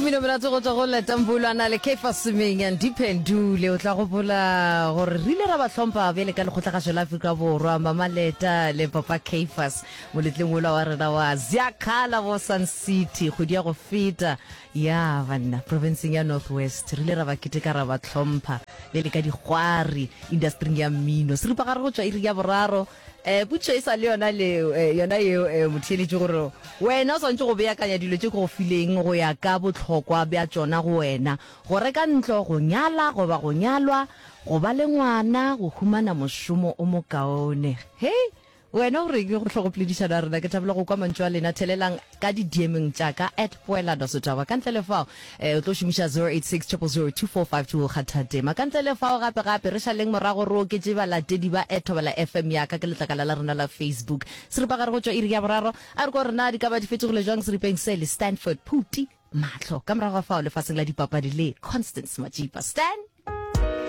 Mmino monate go tšwa go Leta Mbulwana le Caiphus Semenya Ndiphendule. O tla gopola gore re ile ra ba hlompha bjale ka Lekgotlagašo la Afrika Borwa, Mama Leta le Papa Caiphus moletlong wola wa rena wa Ziyakhala bo Sun City kgwedi ya go feta. Ya banna, profenseng ya North West re ile ra ba keteka ra ba hlompha bjale ka dikgwari industering ya mmino. Seripagare go tšwa iri ya boraro Eh, potšišo e sa le yona le eh, yona yeo eh, motheeletši gore wena o swanetše go beakanya dilo tše ke go fileng go ya ka bohlokwa bja tšona go wena, go reka ntlo, go nyala goba go nyalwa, go ba le ngwana, go humana mošomo o mokaone. Hei, wena o reng go hlogopoledišano ya rena? Ke thabela go kwa mantšu a lena. Thelelang ka di-DM-eng tša ka at Poelano Setšhaba. Ka ntle le fao, eh, o tlo šomiša 086 000 2452 go kgatha tema. Ka ntle le fao, gape gape, re šaleng morago re oketše balatedi ba at Thobela FM ya ka ke letlakala la rena la Facebook. Seripagare go tšwa iri ya boraro, a re ko gore na di ka ba di fetogile jwang seripeng se le Stanford Phuti Mahlo. Ka morago ga fao, lefaseng la dipapadi le Constance Majipa. Stan!